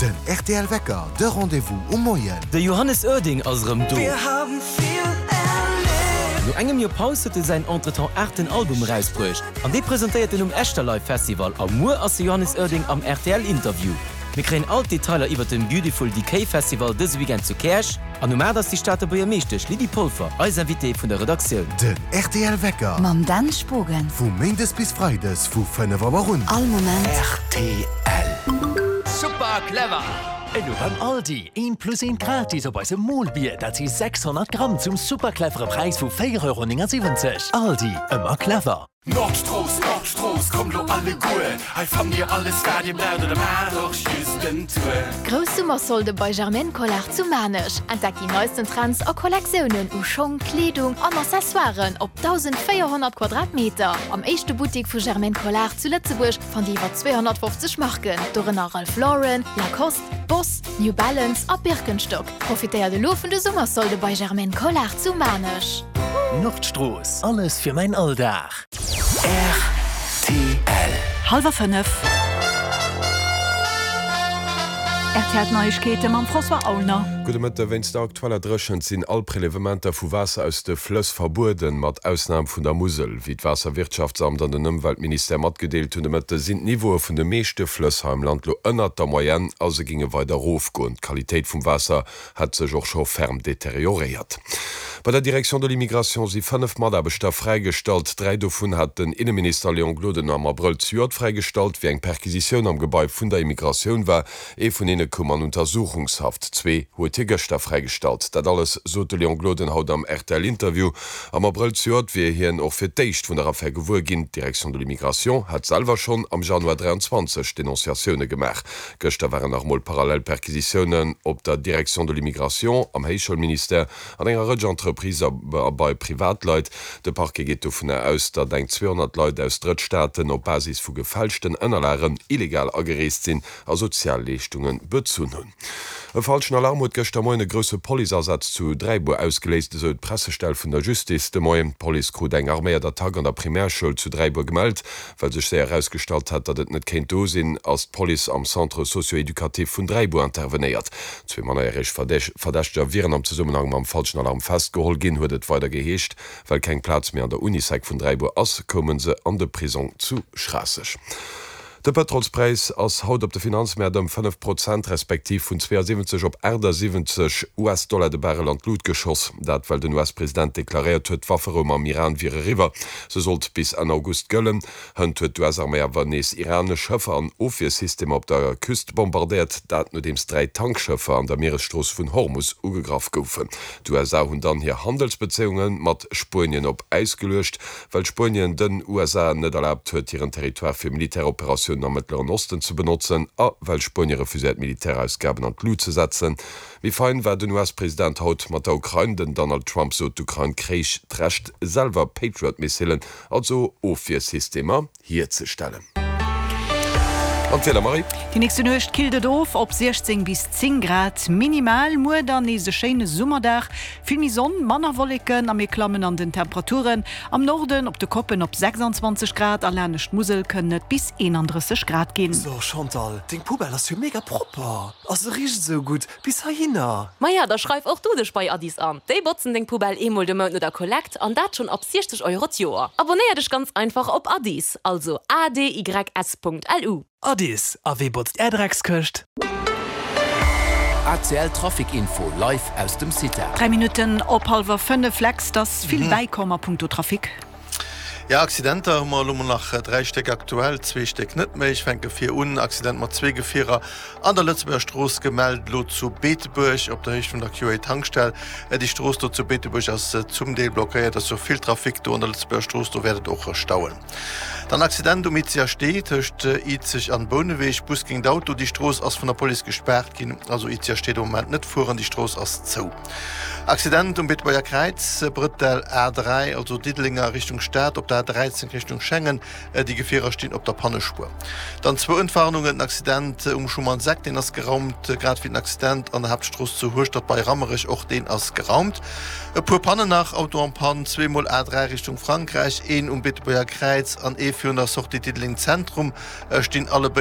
Den rtl Wecker, de Rendez-vous um Moien. De Johannes Oerding ass erëm do! No engem Joer Paus huet e säin entretemps aachten Album erausbruecht an dee presentéiert en um Echterlive Festival a muer ass de Johannes Oerding am rtl Interview. Mir kréien all d'Detailer iwwert den Beautiful Decay Festival dëse Weekend zu Käerch an um 8 ass déi Stater Buergermeeschtesch Lydie Polfer eis Invitée vun der Redaktioun. Den rtl Wecker. Mam Dan Spogen. Vu Méindes bis Freides vu 5 Auer un. All Moment. Rtl. Super clever! Elo beim Aldi, eent plus eent gratis op eisem Molbier, dat si 600 Gramm zum super clevere Präis vu 4,79 Euro. Aldi, ëmmer clever! Nordstrooss, Nordstrooss, kommt lo alleguer, hei fannt dir alles wat dir braucht oder maacht och just en Tour. Grouss Summersolde bei Germaine Collard zu Maarnech. Entdeckt déi neisten Trends a Kollektiounen u Schong, Kleedung an Accessoiren op 1.400 Quadratmeter. Am éischte Buttik vu Germaine Collard zu Lëtzebuerg fannt Dir iwwer 250 Marken, dorënner Ralph Lauren, Lacoste, Boss, New Balance a Birkenstock. Profitéiert elo vun de Summersolde bei Germaine Collard zu Maarnech. Nordstrooss, alles fir mäin Alldag. Rtl. Hallwer 5. RTL Neiegkeete mam François Aulner. Gudde Mëtte. Wéinst der aktueller Dréchent sinn all Prelevementer vu Waasser aus de Flëss verbueden, mat Ausnam vun der Musel. Wéi d'Waasserwirtschaftsamt an den Ëmweltministère matgedeelt hunn de Mëtte, sinn d'Niveaue vun de meeschte Flëss hei am Land lo ënnert der Moyenne a se géinge weider erofgoen. D'Qualitéit vum Waasser hätt sech och scho ferm deterioréiert. Bei der Direction de l'immigration si 5 Mataarbechter fräigestallt. Dräi dovun hat den Inneminister Léon Gloden am Abrëll zejoert fräigestallt, wéi eng Perquisitioun am Gebai vun der Immigratioun war. Ee vun hinne koum an Untersuchungshaft, zwee huet hie gëschter fräigestallt. Dat alles sot de Léon Gloden haut am RTL-Interview. Am Abrëll zejoert wier hien och fir d'éischt vun der Affär gewuer ginn. D'Direction de l'immigration hat selwer schonn am Januar 23 Denonciatioune gemaach. Gëschter waren nach emol parallel Perquisitiounen op der Direction de l'immigration, am Héichschoulministère, an enger Rëtsch Entreprises a bei Privatleit. De Parquet geet dovunner aus, datt eng 200 Leit aus Drëttstaaten op Basis vu gefälschten Ënnerlagen illegal agereest sinn a Sozialleeschtunge bezunn hunn. E falschen Alarm huet gëschter Moien e grousse Policeasaz zu Dräibuer ausgeléist, esou d'Pressestell vun der Justice de Moien. D'Police krut eng arméiert Attack an der Primärschoul zu Dräibuer gemellt. Well sech séier erausgestallt hat, datt et net kéint do sinn, ass d'Police am Centre socio-éducatif vun Dräibuer intervenéiert. Zwee mannerjäreg Verdächteger wieren am Zesummenhang mam falschen Alarm festgeholl ginn, huet et weider geheescht. Well keng Plaz méi an der Unisec vun Dräibuer ass, koume se an de Prisong zu Schraasseg. De Pëtrolspräis ass haut op de Finanzmäert ëm 5 Prozent, respektiv vun 72 op 78 US-Dollar de Barrel an d'Lut geschoss. Dat well den US-President deklaréiert huet, d'Wafferou mam Iran wier eriwwer. Se sollt bis Enn August gëllen. Hënt huet d'US-Arméi awer nees iranesch Schëffer an Ofwiersystemer op der Küst bombardéiert. Dat nodeems 3 Tankschëffer an der Mieresstrooss vun Hormus ugegraff goufen. D'USA hunn dann hir Handelsbezéiunge mat Spuenien op Äis geluecht. Well Spuenien den USA net erlaabt huet, hiren Territoire fir Militäroperatiounen am Mëttleren Osten ze benotzen a well Spuenie refuséiert Militärausgaben an d'Lut ze setzen. Méi fein war den US-President haut mat der Ukrain. Den Donald Trump sot, d'Ukrain kréich d'Recht selwer Patriot-Missilen, also Ofwiersystemer, hierzestellen. An d'Wieder, Marie? Déi nächste Nuecht killt et of op 16 bis 10 Grad minimal. Muer dann nees e schéine Summerdag, vill méi Sonn, manner Wolleken a mir klammen an den Temperaturen. Am Norden op de Koppen op 26 Grad a laanescht d'Musel kënnen et bis 31 Grad ginn. So Chantal, deng Poubelle ass jo mega propper a se richt esou gutt bis heihinner. Maja, da schreif och du dech bei Addis an. Déi botzen deng Poubelle eemol de Mount no der Kollekt an dat schonn ab 60 Euro d'Joer. Abonnéier dech ganz einfach op Addis, also adys.lu. Addis, a wee botzt är Dreckskëscht? ACL Trafic Info live aus dem CITA. 3 Minutten op hallwer 5, Lex, 't ass vill bäikomm a punkto Trafic. Jo, Accidenter hu mer elo mol nach 3 Stéck aktuell, zwee Stéck net méi. Ech fänke vir un, Accident mat zwee Gefierer an der Lëtzebuerger Strooss gemellt elo zu Beetebuerg op der Héicht vun der QA Tankstell. Déi Strooss do zu Beetebuerg ass zum Deel blockéiert, ass jo vill Trafic do an der Lëtzebuerger Strooss, do wäert et och stauen. Dann Accident um Izeger Stee tëscht Izeg an Bouneweg, Bus géint Auto, déi Strooss ass vun der Police gespaart ginn, also Izeger Stee de Moment net fueren, déi Strooss ass zou. Accident um Beetebuerger Kräiz, Brëttel A3, also Diddelenger Richtung Stad, op der A13 Richtung Schengen, déi Gefierer stinn op der Pannespuer. Dann zwou Entwarnungen, den Accident um Schumannseck, deen ass geraumt, grad wéi den Accident an der Haaptstrooss zu Hueschtert bei Rammerech, och deen ass geraumt. E puer Pannen nach, Auto en panne, zweemol A3 Richtung Frankräich, een um Beetebuerger Kräiz an ee virun der Sortie Diddeleng Zentrum, stinn allebéid.